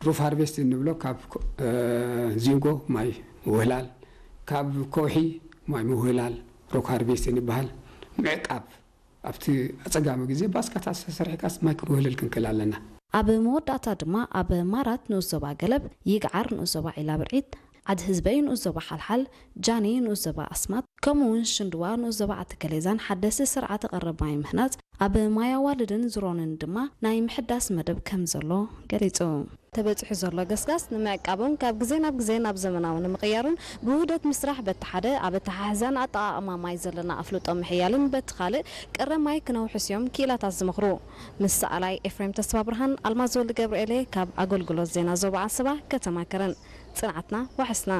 ሩፍ ሃርቬስት እንብሎ ካብ ዚንጎ ማይ ምውህላል፣ ካብ ከውሒ ማይ ምውህላል ሩፍ ሃርቬስት ይበሃል። ምዕቃብ ኣብቲ ኣጸጋሚ ግዜ ባስካታት ተሰሪሕካስ ማይ ክንውህልል ክንክእል ኣለና። ኣብ መወዳእታ ድማ ኣብ ማራት ንኡስ ዞባ ገለብ፣ ይግዓር ንኡስ ዞባ ዒላ ብርዒድ፣ ዓድ ህዝበይ ንኡስ ዞባ ሓልሓል፣ ጃኒ ንኡስ ዞባ ኣስማጥ ከምኡ እውን ሽንድዋ ንኡስ ዞባ ዓዲ ከሌዛን ሓደስቲ ስርዓተ ቀረብ ማይ ምህናጽ ኣብ ማይ ኣዋልድን ዝሮንን ድማ ናይ ምሕዳስ መደብ ከም ዘሎ ገሊጹ። ተበጺሑ ዘሎ ገስጋስ ንምዕቃብን ካብ ግዜ ናብ ግዜ ናብ ዘመናዊ ንምቕያርን ብውህደት ምስራሕ በቲ ሓደ ኣብ ኣተሓሕዛን ኣጠቓቕማ ማይ ዘለና ኣፍልጦ ምሕያልን በቲ ካልእ ቀረብ ማይ ክነውሕስ እዮም ክኢላታት ዝመኽሩ። ምስ ሰኣላይ ኤፍሬም ተስፋብርሃን ኣልማዝ ወልደገብርኤል እየ ካብ ኣገልግሎት ዜና ዞባ ዓሰባ ከተማ ከረን። ጽንዓትና ዋሕስና።